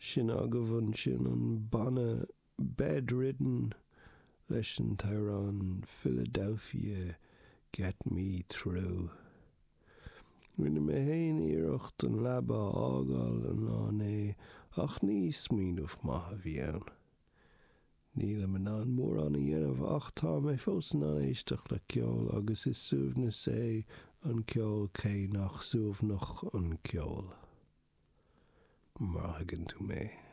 Sin agaibh ansin an banna Bedridden leis an t-amhrán Philadelphia Get Me Through. Rinne mé féin iarracht an leaba a fhágáil an lá inné ach ní smaoineamh maith a bhí ann. Nílim in ann mórán a dhéanamh ach tá mé fós in ann éisteacht le ceol agus is suaimhneas é an ceol cé nach suaimhneach an ceol. Má thuigeann tú mé.